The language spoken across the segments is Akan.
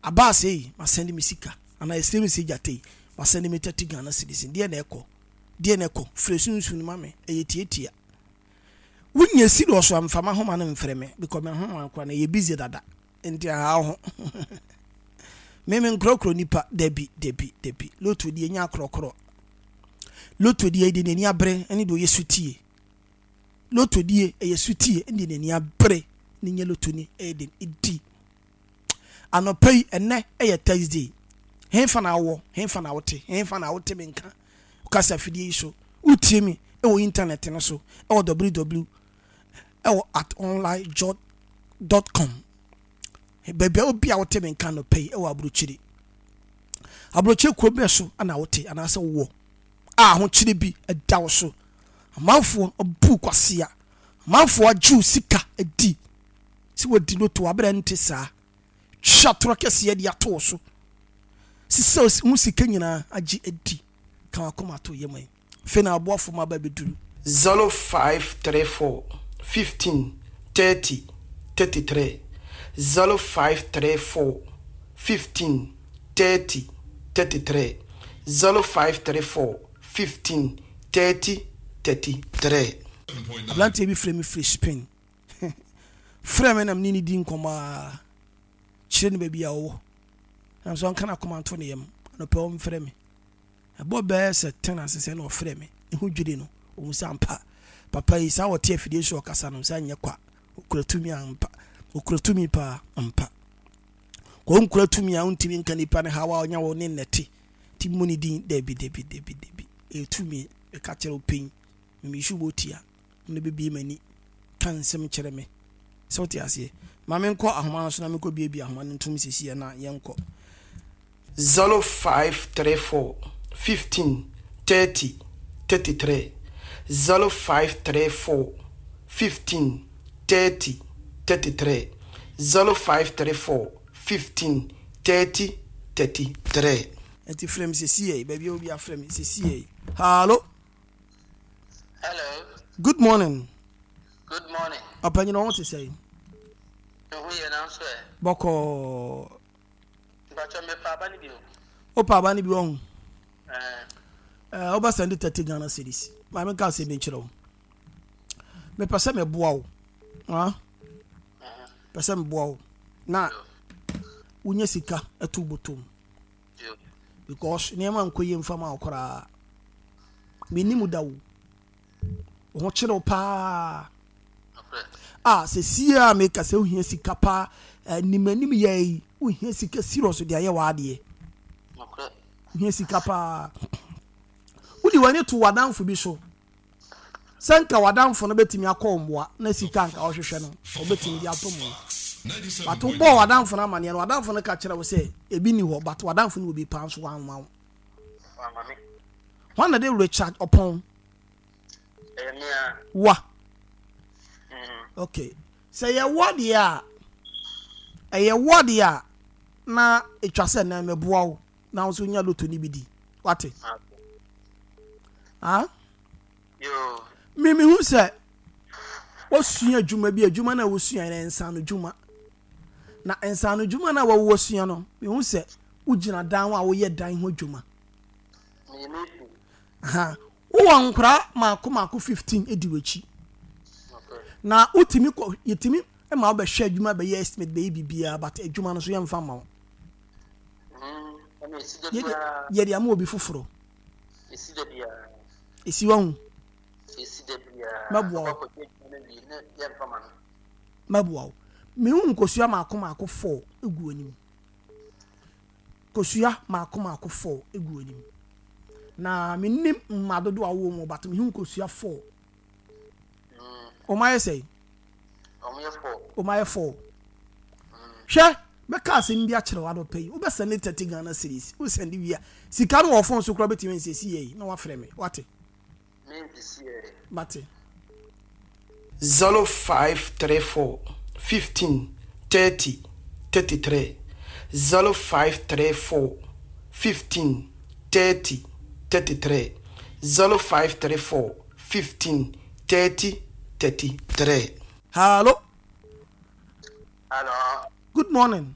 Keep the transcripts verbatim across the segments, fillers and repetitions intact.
Abaase yi, masɛnde me sika. Anaa ɛsrɛ me sɛ gyata yi, masɛnde me thirty Ghana cedis. Deɛ na ɛkɔ? Deɛ na ɛkɔ? Frɛ sunsun ma me. Ɛyɛ tietia. Wonya serious a, mfa m'ahoma no mfrɛ me because m'ahoma koraa no ɛyɛ busy dada. Nti aha wo ho. Me me nkorɔkorɔ nipa. Dabi, dabi, dabi. Lotto deɛ nya akorɔkorɔ. Lotto deɛ deɛ n'ani abere ɛne deɛ ɔyɛ sutie. Lotto deɛ ɛyɛ sutie ɛne deɛ n'ani abere ne nyɛ lotto ni ɛyɛ den ɛdi. Anɔpa yi ɛnɛ ɛyɛ Thursday. Henfa na wowɔ? Henfa na wote? Henfa na wote me nka? Kasa afidie yi so. Wotie me ɛwɔ internet no so ɛwɔ www ɛwɔ at online dot com. Baabi a obi a wote me nka anɔpa yi ɛwɔ aburokyire. Aburokyire kuro bɛn so na wote anaasɛ wowɔ a ahokyere bi ɛda wo so. Amanfoɔ abu kwasea. Amanfoɔ agye wo sika adi sɛ wɔdi loto aberɛ nte saa. Twa torɔ kɛseɛ de ato wo so. Sisɛ wo sika nyinaa agye adi. Ka wakoma to yɛ man. Afei na aboafo ma aba bɛduru. zero five three four fifteen thirty thirty three zero five three four fifteen thirty thirty three zero five three four fifteen thirty thirty three. Aberanteɛ bi frɛ me firi Spain. Frɛ me na me ne no di nkɔmmɔ a kyerɛ no baabi a ɔwɔ. Na nso ɔnka n'akoma nto ne yam. Anɔpɛ ɔmfrɛ me. Ɛbɔ bɛyɛ sɛ ten ase sɛ na ɔfrɛ me. Ne ho dwiri no. Ɔhu sɛ ampa papa yi saa ɔte afidie so ɔkasa no sɛ nyɛ kwa. Ɔkura tumi ampa. Ɔkura tumi paa ampa. Kɔ nkura tumi a wontumi nka nipa ne haw a ɔnya wɔ ne nnɛte. Ti mu ne din dabi dabi dabi dabi. Ɛyɛ tumi ɛka kyerɛ wo pɛn. Memisu bɔ tia. Na bɛbie m'ani ka nsɛm kyerɛ me. Sɛ wote aseɛ. Ma menkɔ ahoma no so na menkɔ biebie ahoma no ntom sisi na yɛnkɔ. zero five three four fifteen thirty thirty three zero five three four fifteen thirty thirty three zero five three four fifteen thirty thirty three. Nti frɛ me sisi yɛ baabi a obi afrɛ me sisi yɛ. Hello. Hello. Good morning. Good morning. Ɔpanyin ɔho te sɛ. Ehu yɛ nanso ɛ. Bɔkɔɔ. Mpatsɔ mepa aba no bi o. Wopa aba no bi ɔho. Ɛɛ. Ɛɛ wobɛ send thirty Ghana cedis. Maame nka asɛm bi nkyerɛ wo. Mepɛ sɛ meboa wo. Ha? Pɛ sɛ meboa wo. Na wonya sika ɛto bɔtɔm. Because nneɛma nkɔ yie mfa ma wo koraa. Mennim da wo. Wo ho kyerɛ wo paa. A sɛ sie a meka sɛ wohia sika paa anim anim yɛ yi wohia sika serious de ayɛ w'adeɛ. Wohia sika paa. Wode w'ani to w'adamfo bi so. Sɛ nka w'adamfo no bɛtumi akɔ wo mmoa na sika nka ɔhwehwɛ no ɔbɛtumi de ato mu. But wobɔɔ w'adamfo no amanneɛ no w'adamfo no ka kyerɛ wo sɛ ebi ni hɔ but w'adamfo no wɔ bi paa nso wamma wo. Hwan na de Richard Ɔpɔn? Wa. Okay. Sɛ yɛwɔ deɛ a ɛyɛ wɔ deɛ a na etwa sɛ nan mɛboa wo na wo nso nya loto no bi di. Wate? Ah? Me me hu sɛ wasua adwuma bi adwuma no a wosua no nsa no dwuma. Na nsa no dwuma no a wɔwɔ no me hu sɛ wogyina dan ho a woyɛ dan ho adwuma. Aha. Wowɔ nkora maako maako fifteen edi w'akyi. Na wotumi kɔ yɛtumi ma wobɛhwɛ adwuma bɛyɛ estimate bɛyɛ biribiara but adwuma no so yɛmfa ma wo. Yɛde ama obi foforɔ. Esi wahu. Mɛboa wo. Mɛboa wo. Mehu nkosua maako maako four egu anim. Kosua maako maako four egu anim. Na menim mma dodo a wowɔ mu but mehu nkosua four. Ɔmo ayɛ sɛ? Ɔmo ayɛ four. Hwɛ mɛka asɛm bi akyerɛ wo adɔpɛ yi wobɛsɛnde thirty Ghana cedis wosɛnde wie a sika no wɔ phone so koraa wobɛtumi nsɛsi yɛ yi na wafrɛ me wate. Mate. zero five three four fifteen thirty thirty three zero five three four fifteen thirty thirty three zero five three four fifteen thirty thirty three. Hello. Hello. Good morning.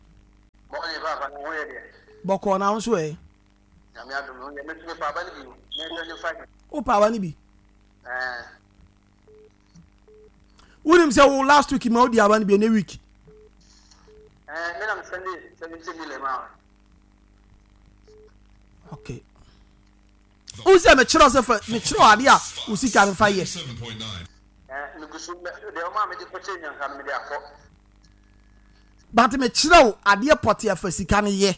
Morning, Papa. Bɔkɔɔ na nso ɛ. Wo pa aba no bi. Wonim sɛ wo last week ma wodi aba no bi ɛnɛ week. Okay. Wo sɛ mekyerɛ sɛ fa mekyerɛ ade a wo sika no fa yɛ. But mekyerɛ wo adeɛ pɔte afa sika no yɛ.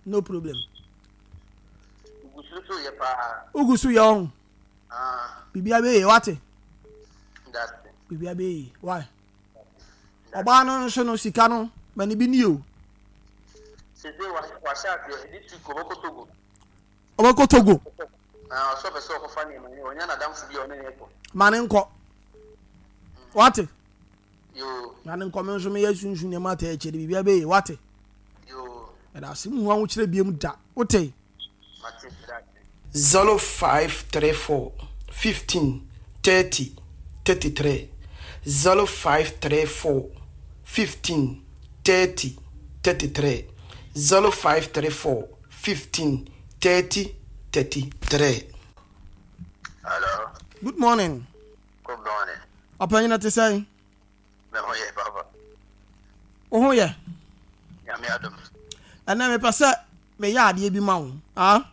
No problem. Ugu so yɛ ɔho. Bibia bɛyɛ wate. Bibia bɛyɛ why? Ɔbaa no nso no sika no ma ne bi ni o. Ɔbɛkɔ Togo. Ma ne nkɔ. Wate. Na ne nkɔ me nso meyɛ sunsun nneɛma ata akyire biribiara bɛyɛ wate. Ɛda ase mu ahokyerɛ biam da wote. Zero five three four fifteen thirty thirty three zero five three four fifteen thirty thirty three zero five three four fifteen thirty thirty three. Hello. Good morning. Good morning. Ɔpanyin te sɛn? Me ho yɛ papa. Wo ho yɛ? Nyame adom. Ɛnɛ mepɛ sɛ meyɛ adeɛ bi ma wo. Ah?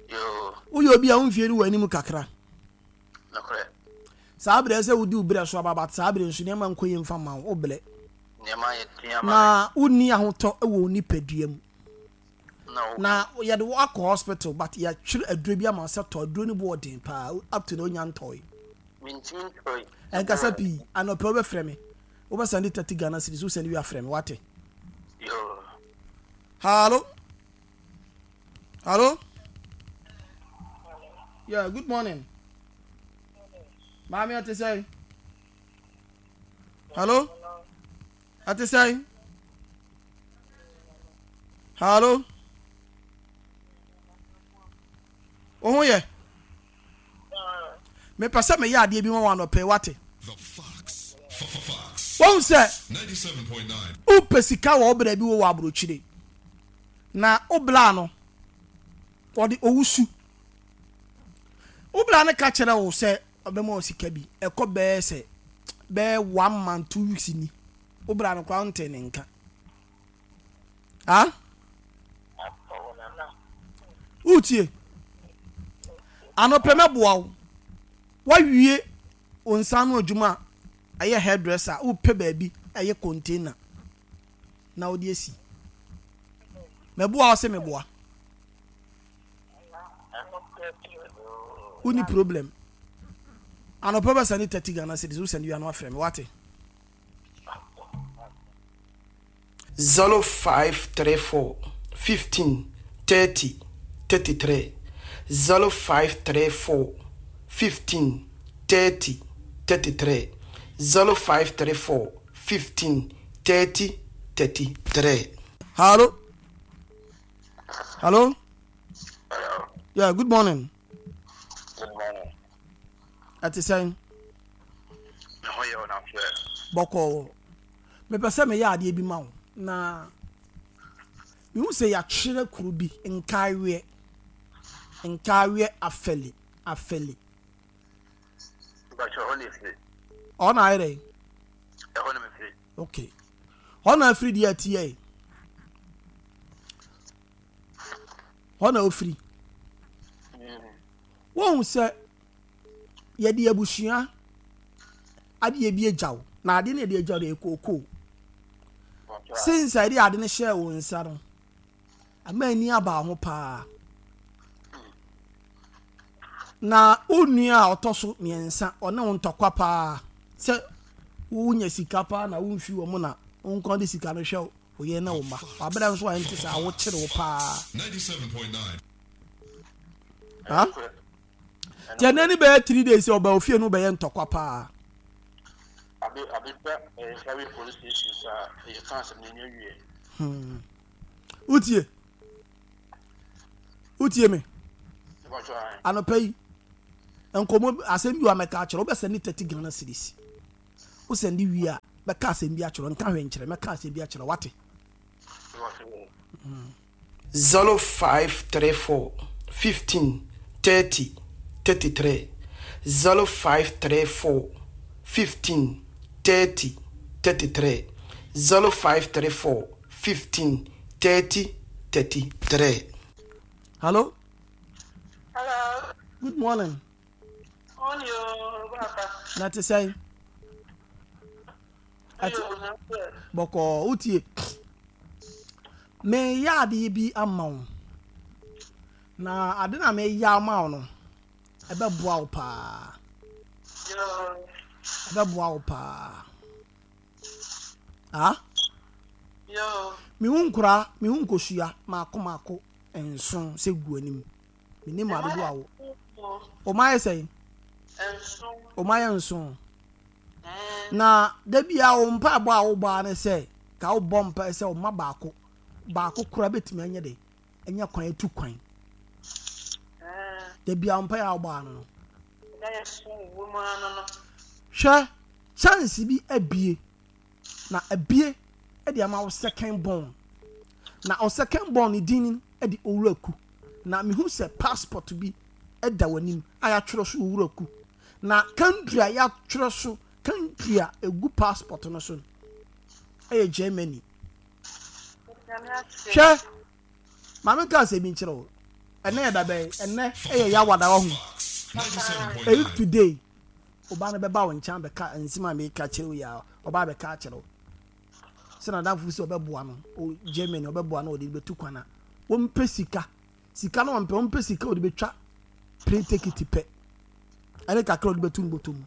Yoo. Woyɛ obi a wo mfie no wɔ anim kakra. Nokorɛ. Saa berɛ sɛ wodi wo berɛ so aba but saa berɛ nso nneɛma nkɔ yie mfa ma wo, wo brɛ. Nneɛma yɛ den ama me. Na wonni ahotɔ wɔ wo nipadua mu. No. Na yɛde wo akɔ hospital but yɛatwerɛ aduro bi ama wo sɛ tɔ aduro no bo ɔden paa up to now wonya ntɔe. Mentumi ntɔe. Ɛnkasa pii anɔpɛ wobɛfrɛ me wobɛsɛnde thirty Ghana cedis wosɛnde wie afrɛ me wate. Yoo. Hallo. Hallo. Yeah, good morning. Maame ɔte sɛn? Hallo. Ɔte sɛn? Hallo. Wo ho yɛ? Mepɛ sɛ meyɛ adeɛ bi ma wo anɔpɛ wate. Wohu sɛ wopɛ sika wɔ wo bra bi wɔ wɔ aburokyire na wo bra no ɔde owusu. Wo bra no ka kyerɛ wo sɛ ɔbɛma wo sika bi ɛkɔ bɛyɛ sɛ bɛyɛ one month two weeks ni. Wo bra no koraa wontee ne nka. Ah? Wotie? Anɔpɛ mɛboa wo. Woawie wo nsa ano adwuma a ɛyɛ hairdresser a wopɛ baabi ɛyɛ container na wode asi. Mɛboa wo sɛ meboa. Wonni problem. Anɔpɛ bɛsɛne thirty Ghana cedis wosɛne wie a na wafrɛ me wate. Zero five three four fifteen thirty thirty three zero five three four fifteen thirty thirty three zero five three four fifteen thirty thirty three. Hello. Hello. Hello. Yeah, good morning. Good morning. Ɛte sɛn? Me ho yɛ ɔnamfɛ. Bɔkɔɔ. Mepɛ sɛ meyɛ adeɛ bi ma wo na mehu sɛ yɛatwerɛ kuro bi nkaeweɛ nkaeweɛ afɛli afɛli. Mpakyɛ hɔ na efiri. Ɔhɔ na ayɛ dɛ? Ɛhɔ na mefiri. Okay. Hɔ na afiri deɛ ɛteɛ yi. Hɔ na ofiri. Wohu sɛ yɛde abusua adeɛ bi agya wo na adeɛ no yɛde agya wo deɛ kookoo. Since a yɛde ade no hyɛɛ wo nsa no ama ani aba ho paa. Na wo nua a ɔtɔ so mmiɛnsa ɔne wo ntɔkwa paa sɛ wonya sika paa na womfi wɔ mu na wo nko de sika no hwɛ wo yere ne wo mma. Wabrɛ nso a ɛnte saa wokyere wo paa. Ha? Nti ɛnɛ ne bɛyɛ three days sɛ ɔba ofie no bɛyɛ ntɔkwa paa. Abe abeba ɛyɛ police station saa ɛyɛ kan asɛm na ɛnyɛ wie. Hmm. Wotie? Wotie me? Anɔpa yi nkɔmmɔ asɛm bi wa mɛka akyerɛ wobɛsɛnde thirty Ghana cedis. Wosɛnde wie a Mɛka asɛm bi akyerɛ wo, nka hwee nkyerɛ, mɛka asɛm bi akyerɛ wo, wate? Zero five three four fifteen thirty thirty three zero five three four fifteen thirty thirty three zero five three four fifteen thirty thirty three. Hello. Hello. Good morning. Morning, o, papa. Na te sɛn? Ɛte bɔkɔɔ wotie. Meyɛ adeɛ bi ama wo. Na ade na meyɛ ama wo no, ɛbɛboa wo paa. Ɛbɛboa wo paa. Ah? Mehu nkora, mehu nkosua maako maako nson sɛ gu anim. Menim adodoɔ a wo. Wɔn ayɛ sɛn? Wɔn ayɛ nson. Na da biara wo mpaebɔ a wobɔ ara ne sɛ ka wobɔ mpae sɛ ɔma baako baako koraa bɛtumi anyɛ dɛ anya kwan atu kwan. Da biara wo mpae a wobɔ ara no no. Hwɛ chance bi abie na abie de ama wo second born na wo second born ne din de Owuraku na mehu sɛ passport bi da w'anim a yɛatwerɛ so Owuraku Na country a yɛatwerɛ so, country a ɛgu passport no so no, ɛyɛ Germany. Hwɛ, maame nka asɛm bi nkyerɛ wo. Ɛnɛ yɛ da bɛn? Ɛnɛ ɛyɛ Yawada wahu. Ɛyi today, ɔbaa no bɛba wo nkyɛn abɛka nsɛm a meka kyerɛ wo yi a, ɔbaa bɛka akyerɛ wo. Sɛ n'adamfo sɛ ɔbɛboa no, o Germany ɔbɛboa no ɔde bɛtu kwan a, wɔmpɛ sika. Sika no ɔmpɛ, ɔmpɛ sika ɔde bɛtwa plane ticket pɛ ɛne kakra ɔde bɛto ne bɔtɔ mu.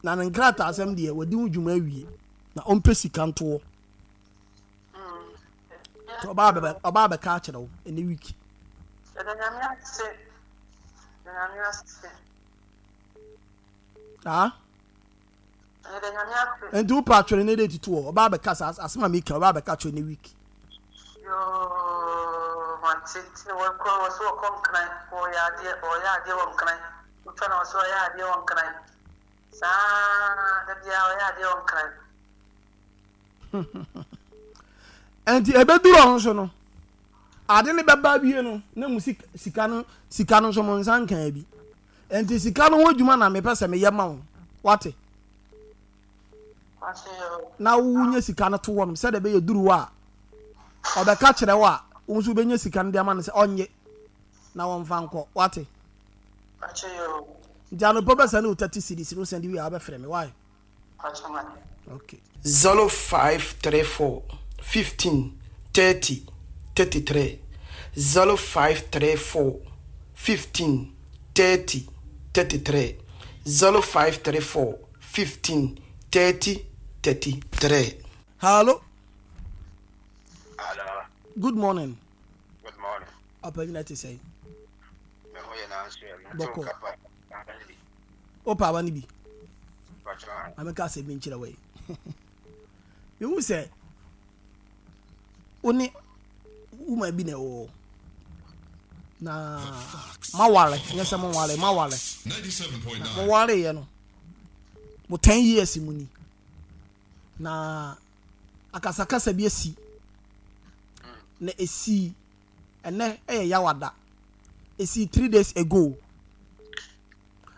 Na ne nkrataa asɛm deɛ wadi ho dwuma awie na ɔmpɛ sika ntoɔ. Nti ɔbaa bɛbɛ ɔbaa bɛka akyerɛ wo ɛnɛ week. Yɛda Nyame ase. Yɛda Nyame ase. Ah? Yɛda Nyame ase. Nti wopɛ atwere ne date to hɔ ɔbaa bɛka saa asɛm a meka ɔbaa bɛka atwere ne week. Yoo mate nti na wɔkɔ wɔ so wɔkɔ nkran wɔyɛ adeɛ wɔyɛ adeɛ wɔ nkran wotwa na wɔ so wɔyɛ adeɛ wɔ nkran saa da biara wɔyɛ adeɛ wɔ nkran. Nti ɛbɛduru ɔno so no ade no bɛba awie no na mu sika no sika no nso mo nsa nkaa bi. Enti sika no ho adwuma na mepɛ sɛ meyɛ ma wo. Wate? Na wonya sika no to hɔ nom sɛdeɛ ɛbɛyɛ duru hɔ a, ɔbɛka kyerɛ wo a, wo nso wobɛnya sika no de ama no sɛ ɔnnye na wɔmfa nkɔ. Wate? Nti anɔpa bɛsɛne wo thirty cedis no, wosɛnde wie a wobɛfrɛ me. Why? Okay. Zero five three four fifteen thirty thirty three zero five three four fifteen thirty thirty three zero five three four fifteen thirty thirty three. Hallo. Hello. Good morning. Good morning. Ɔpanyin ɛte sɛn? Me ho yɛ nanso yɛ. Bɔkɔ. Wopɛ aba no bi? Ma menka asɛm bi nkyerɛ wo yi. Mehu sɛ wo ne woman bi na ɛwɔ hɔ. Na maware, nyɛ sɛ moware, maware. Na mowareeɛ no, mo ten years mu ni. Na akasakasa bi asi. Na esii ɛnɛ ɛyɛ Yawada. Esii three days ago.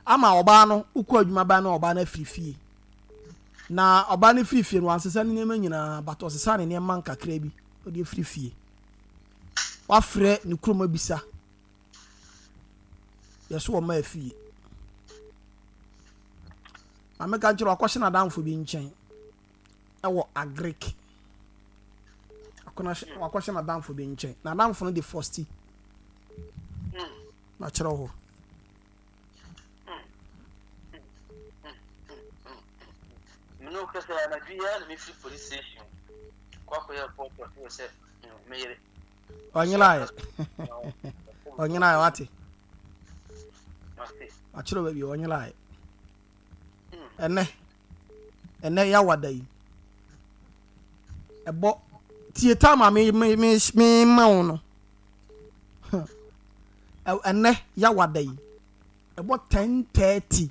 Ama ɔbaa no wokɔ adwuma baa no ɔbaa no afiri fie. Na ɔbaa no firi fie no wansesa ne nneɛma nyinaa but ɔsesa ne nneɛma nkakra bi ɔde afiri fie. Wafrɛ ne kurom abisa yɛso ɔma afie. Maame ka nkyerɛ wakɔhyɛ n'adamfo bi nkyɛn ɛwɔ agric. Wakɔhyɛ n'adamfo bi nkyɛn. N'adamfo no de fɔsti. Na kyerɛ hɔ. Mene wo kasa anadwo yi ara na mefiri police station kɔ akɔyɛ report wɔ sɛ me yere. Ɔnyeraeɛ. Ɔnyeraeɛ wate. Wakyerɛ baabi ɔnyeraeɛ. Ɛnɛ ɛnɛ yawada yi ɛbɔ tie time a me me me me ma wo no. Ɛnɛ yawada yi ɛbɔ ten thirty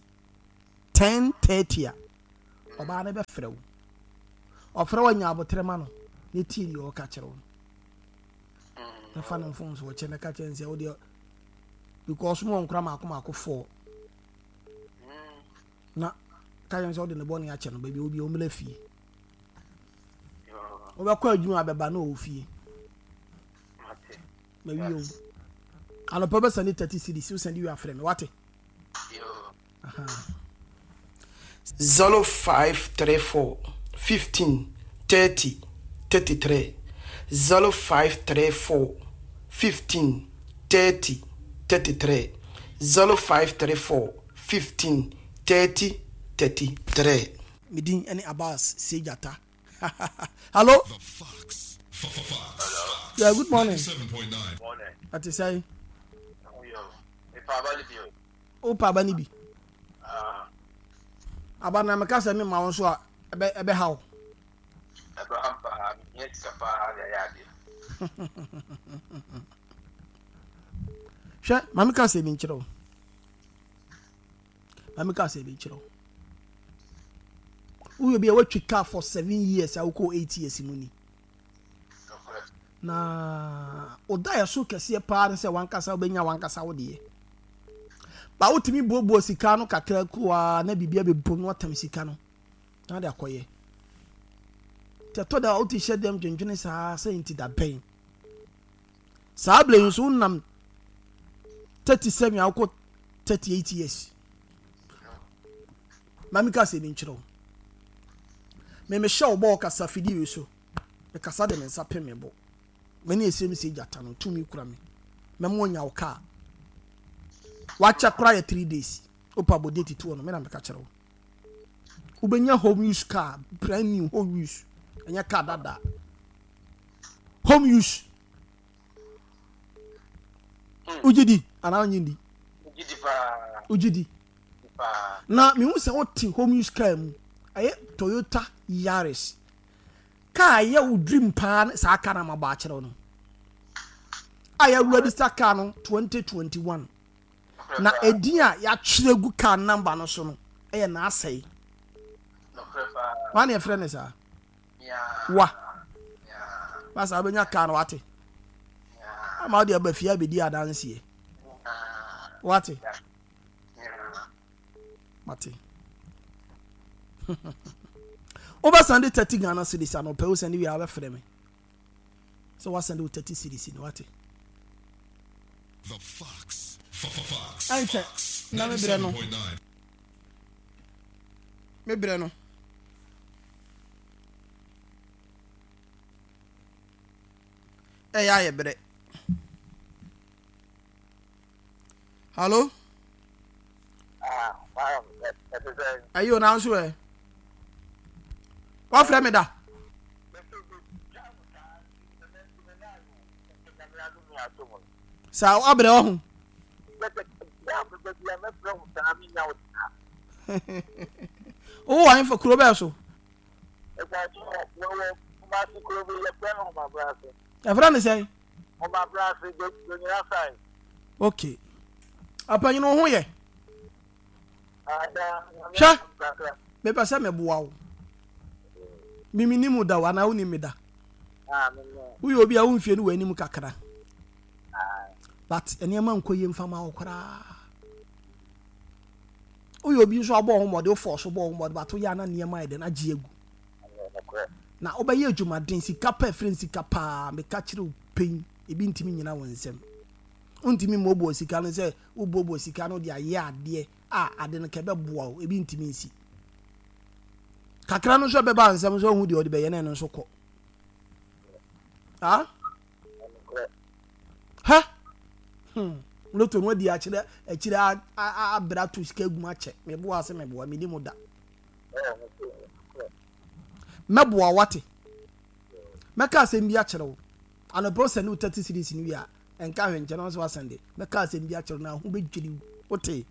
ten thirty a Ɔbaa no bɛfrɛ wo. Ɔfrɛ wo anya abotrɛ ma no na tie deɛ ɔka kyerɛ wo no. Na fa no mfomsoɔ kyɛ na ka kyerɛ no sɛ wo deɛ because mo wɔ nkora maako maako four. Na ka kyerɛ no sɛ wode ne bɔne akyɛ no baabi a obi ɔmmra fie. Wobɛkɔ adwuma abɛba na ɔwɔ fie. Mawie o. Anɔpa bɛsɛnde thirty cedis wosɛnde wie afrɛ me wate. Zero five three four fifteen thirty thirty three zero five three four fifteen thirty thirty three zero five three four fifteen thirty thirty three. Me din ne Abbas Sejata. Hello. The Fox. Fox. Yeah, good morning. ninety-seven point nine. Morning. Ate sɛn? Mepa aba no bi o. Wopa aba no bi? Ah. Aba na meka sɛ mema wo nso a ɛbɛ ɛbɛha wo. Ɛbɛha m paa, mehia sika paa de ayɛ adeɛ. Hwɛ, ma meka sɛ bi nkyerɛ wo. Ma meka sɛ bi nkyerɛ wo. Woyɛ bi a woatwi car for seven years a wokɔ eight years mu ni. Na ɔda yɛ so kɛseɛ paa ne sɛ wankasa wobɛnya wankasa wo deɛ. Ba wotumi buobuo sika no kakra kuraa na biribi abɛbom na watam sika no na de akɔyɛ. Nti ɛtɔ da a wote hyɛ dɛm dwendwene saa sɛ nti da bɛn. Saa berɛ yi nso wonam thirty-seven a wokɔ thirty-eight years. Ma meka sɛ bi nkyerɛ wo. Me mehyɛ wo bɔ kasa fidie yi so. Mekasa de me nsa pem me bo. Me ne esem sɛ gyata no tumi kura me. Mɛmo anya wo kaa. Wakyɛ kora yɛ three days. Opa bɔ date to no me na meka kyerɛ wo. Wobɛnya home use car, brand new home use. Ɛnyɛ car dada. Home use. Wogye di anaa wonnye di? Wogye di. Na mehu sɛ wote home use car mu. Ɛyɛ Toyota Yaris. Car ɛyɛ wo dream paa saa car na mabɔ akyerɛ wo no. A yɛ register car no twenty twenty-one. Na edin a yɛatwerɛ gu car number no so no ɛyɛ n'asɛe. Wane yɛfrɛ ne saa? Wa. Masa wobɛnya car no wate. Ama wode aba fie abɛdi adanseɛ. Wate. Mate. Wobɛsɛnde thirty Ghana cedis anɔpɛ wosɛnde wie a wobɛfrɛ me. Sɛ woasɛnde wo thirty cedis no wate. The Fox. Fox. Ɛnkyɛ na mebrɛ no. Mebrɛ no. Ɛyɛ ayɛ brɛ. Hello? Ayo na nso ɛ. Wafrɛ me da. Sa abrɛ wɔ ho. Wo wɔ ahemfo kuro bɛɛ so. Ɛfrɛ ne sɛn? Okay. Apanyin wo ho yɛ. Hwɛ. Mepɛ sɛ meboa wo. Mimi ni mu da wo anaa wonim me da. Woyɛ obi a womfie no wɔ anim kakra. But nneɛma nkɔ yie mfa ma wo koraa. Woyɛ obi nso abɔ ho mmɔde, wofɔ so bɔ ho mmɔde, but woyɛ ana nneɛma ayɛ dɛn agye agu. Na wobɛyɛ adwumaden, sika pa afiri sika paa, meka kyerɛ wo pɛn, ebi ntumi nyina wo nsɛm. Wontumi mmɔbɔ sika no sɛ wobɔbɔ sika no de ayɛ adeɛ a ade no kɛbɛboa wo, ebi ntumi nsi. Kakra no nso ɛbɛba nsɛm nso ohu deɛ ɔde bɛyɛ no ɛno nso kɔ. Ah? Ha? Hmm. Loto no adi akyerɛ akyerɛ abra to sika gu akyɛ. Meboa ase meboa me ni mu da. Mɛboa wate. Mɛka asɛm bi akyerɛ wo. Anɔpɛ wo sɛne wo thirty cedis no wie a, ɛnka hwɛ nkyɛn na wo sɛ mɛka asɛm bi akyerɛ wo na ho bɛdwiri wo. Wote?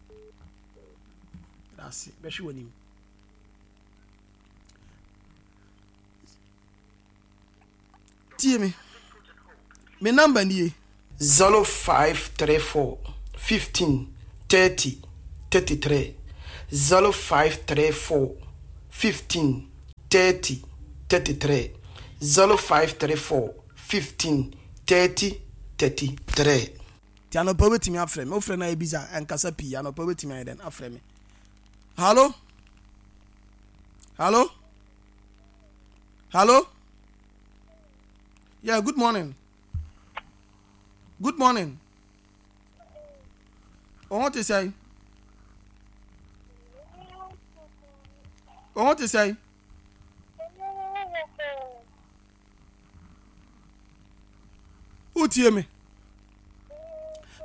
Ase bɛhwe w'anim. Tie me. Me number nie. zero five three four fifteen thirty thirty-three zero five three four fifteen thirty thirty three zero five three four fifteen thirty thirty three. Nti anɔpa wobɛtumi afrɛ me. Wofrɛ no a ɛbisa ɛnkasa pii. Anɔpa wobɛtumi ayɛ dɛn afrɛ me. Hallo? Hallo? Hallo? Yeah, good morning. Good morning. Wo ho te sɛn? Wo ho te sɛn? Wotie me?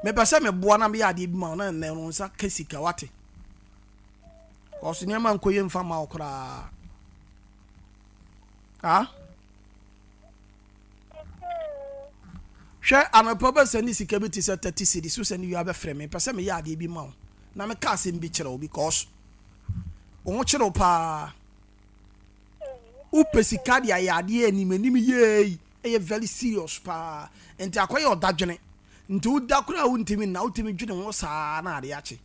Mepɛ sɛ meboa na meyɛ adeɛ bi ma wo na nnɛ no nsa ka sika wate. Kɔso nneɛma nkɔ yie mfa ma wo koraa. Ah? Hwɛ anɔpa wobɛsɛ ne sika bi te sɛ thirty cedis so sɛ ne wia bɛfrɛ me. Mepɛ sɛ meyɛ adeɛ bi ma wo na meka asɛm bi kyerɛ wo because wo ho kyerɛ wo paa. Wopɛ sika de ayɛ adeɛ anim anim yie ɛyɛ very serious paa nti akɔyɛ ɔdadwene nti woda koraa wontumi nna wotumi dwene ho saa na ade akye.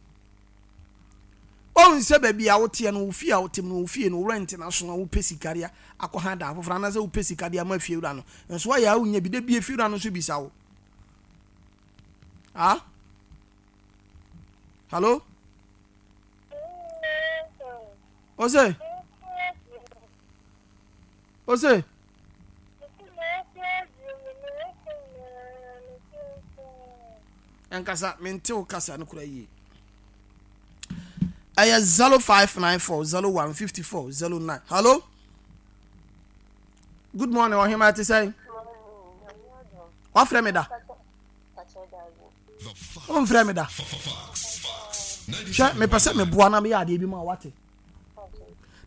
Ɔhu sɛ baabi a woteɛ no wo fie a wotem no wo fie no rent no aso a wopɛ sika de akɔ ha dan foforɔ anaasɛ wopɛ sika de ama fie wura no nso ayɛ a wonya bi da bie fie wura no nso bisa wo. Ah? Hello? Ose? Ose? Ɛnkasa, mente wo kasa no kora yie. Ɛyɛ zero five nine four zero one fifty four zero nine. Hello? Good morning, ɔhema ɛte sɛn? Wafrɛ me da? Womfrɛ me da? Hwɛ, mepɛ sɛ meboa na meyɛ adeɛ bi ma wate.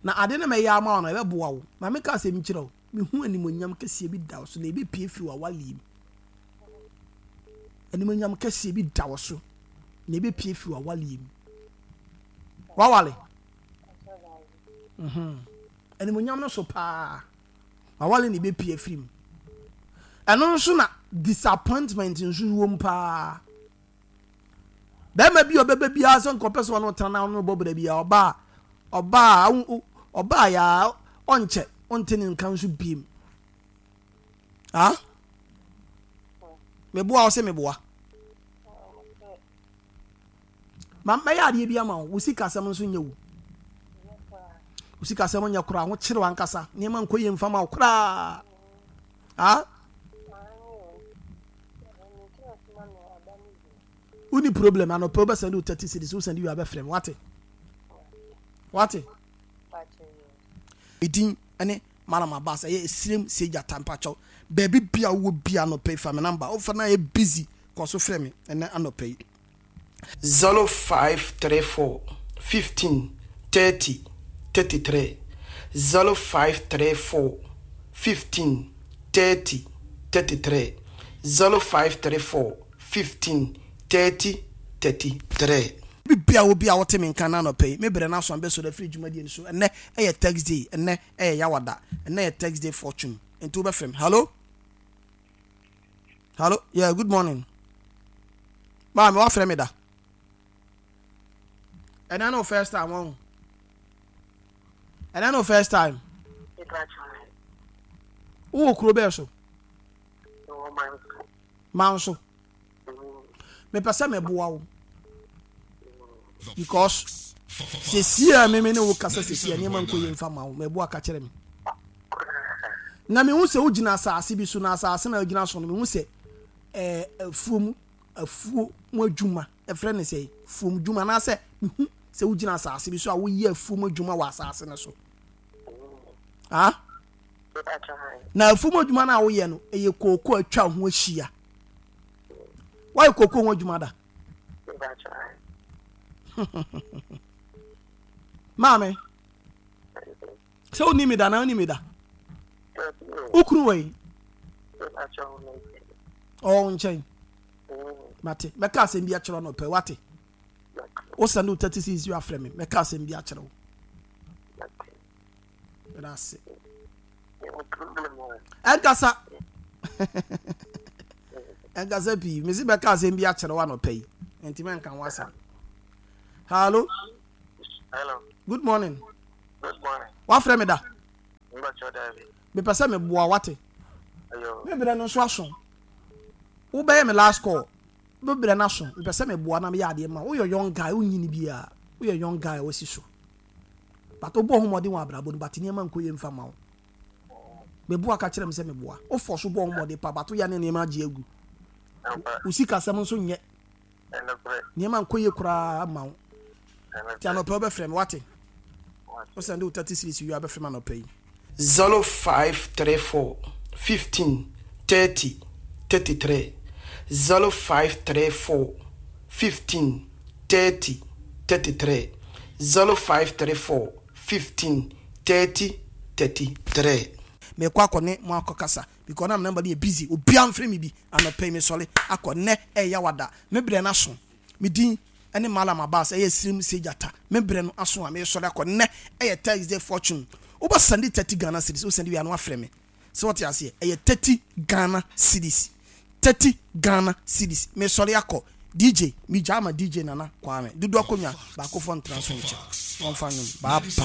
Na ade no mɛyɛ ama wo no ɛbɛboa wo. Ma meka asɛm kyerɛ wo. Mehu animonyam kɛseɛ bi da wo so na ɛbɛpie firi w'awaleɛ mu. Animonyam kɛseɛ bi da wo so na ɛbɛpie firi w'awaleɛ mu. Wawale? Mhm. Animonyam no so paa. Wawale na ɛbɛpie afiri mu. Ɛno nso na disappointment nso wɔ mu paa. Bɛrima bi a ɔbɛba biara sɛ nkɔpɛ sɛ ɔno tena na ɔno bɔ bra biara ɔbaa ɔbaa ɔbaa yaa ɔnkyɛ ɔnte ne nka nso biem. Ah? Meboa wo sɛ meboa. Ma mɛyɛ adeɛ bi ama wo. Wo sikasɛm nso nyɛ wo. Wo sikasɛm nyɛ koraa. Ho kyerɛ ankasa. Nneɛma nkɔ yie mfa ma wo koraa. Ah? Woni problem anɔpɛ wobɛsɛnde wo thirty cedis wosɛnde wie a bɛfrɛ me wate wate medin ne Malam Abbas ɛyɛ esirem segya tampakyɛw baabi bia wowɔ bia anɔpɛ yi fa me namba wofa na ayɛ busy kɔ so frɛ me ɛnɛ anɔpɛ yi. zero five three four fifteen thirty thirty three zero five three four fifteen thirty thirty three zero five three four fifteen thirty thirty three. Bia wo bia wote me nka na anɔpɛ yi me brɛ no aso ambɛsɔre afiri dwumadie no so. Ɛnɛ ɛyɛ Thursday, ɛnɛ ɛyɛ Yawada, ɛnɛ yɛ Thursday fortune nti wobɛfrɛ me. Hello? Hello? Yeah, good morning. Maame wafrɛ me da. Ɛnɛ no first time wɔn. Ɛnɛ no first time. Wowɔ kuro bɛɛ so? Manso. Mepɛ sɛ meboa wo because sɛsi a meme ne wo kasa sɛsi a nneɛma nkɔ yie mfa ma wo. Meboa ka kyerɛ me. Na mehu sɛ wogyina asase bi so na asase na wogyina so no mehu sɛ ɛɛ afuom afuo mu adwuma ɛfrɛ ne sɛ fuom dwuma anaasɛ mehu sɛ wogyina asase bi so a woyɛ afuom adwuma wɔ asase no so. Ah? Na afuom adwuma no a woyɛ no ɛyɛ kooko atwa ho ahyia. Woayɛ kooko ho adwuma da? Maame, sɛ wonni me da na wonni me da? Wo kunu wɔ yi? Ɔwɔ wo nkyɛn. Mate, mɛka asɛm bi akyerɛ no pɛ, wate? Wo send wo thirty six yi afrɛ me, mɛka asɛm bi akyerɛ wo. Meda ase. Ɛnkasa. Ɛnkasa pii. Mesi bɛka asɛm bi akyerɛ wo anɔpa yi. Nti mɛnka ho asɛm. Hello. Hello. Good morning. Good morning. Wafrɛ me da? Mbakyɛ daabi. Mepɛ sɛ meboa, wate? Ayo. Me berɛ no nso aso. Wobɛyɛ me last call. Me berɛ no aso. Mepɛ sɛ meboa na meyɛ adeɛ ma wo. Woyɛ young guy, wonyini biara. Woyɛ young guy a wasi so, but wobɔ ho mmɔden wɔ abrabɔ no, but nneɛma nkɔ yie mfa ma wo. Meboa, ka kyerɛ me sɛ meboa wofɔ so bɔ ho mmɔden pa, but woyɛ ne nneɛma agye agu. Ɛmpa. Wo sikasɛm nso nyɛ. Ɛnokorɛ. Nneɛma nkɔ yie koraa ma wo. Nti Ɛnokorɛ. anɔpɛ wobɛfrɛ me, wate? Wo send wo thirty cedis wie a, wobɛfrɛ me anɔpɛ yi. zero five three four fifteen thirty thirty-three, zero five three four fifteen thirty thirty-three, zero five three four fifteen thirty thirty-three. Mekɔ akɔ ne mo akɔ kasa because na number no yɛ busy. Obia mfrɛ me bi anɔpɛ yi. Mesɔre akɔ nnɛ, ɛyɛ wada. Me berɛ no aso. Me din ɛne Malam Abbas, ɛyɛ Sirim Segyata. Me berɛ no aso a mesɔre akɔ nnɛ. Ɛyɛ Thursday fortune. Wobɛ send thirty Ghana cedis. Wo send wie a, na wafrɛ me sɛ wɔte aseɛ. Ɛyɛ thirty Ghana cedis, thirty Ghana cedis. Mesɔre akɔ. D J megya ama D J Nana Kwame dodo akonnwa baako fɔ ntena so nkyɛn wɔmfa nwom. Bye bye.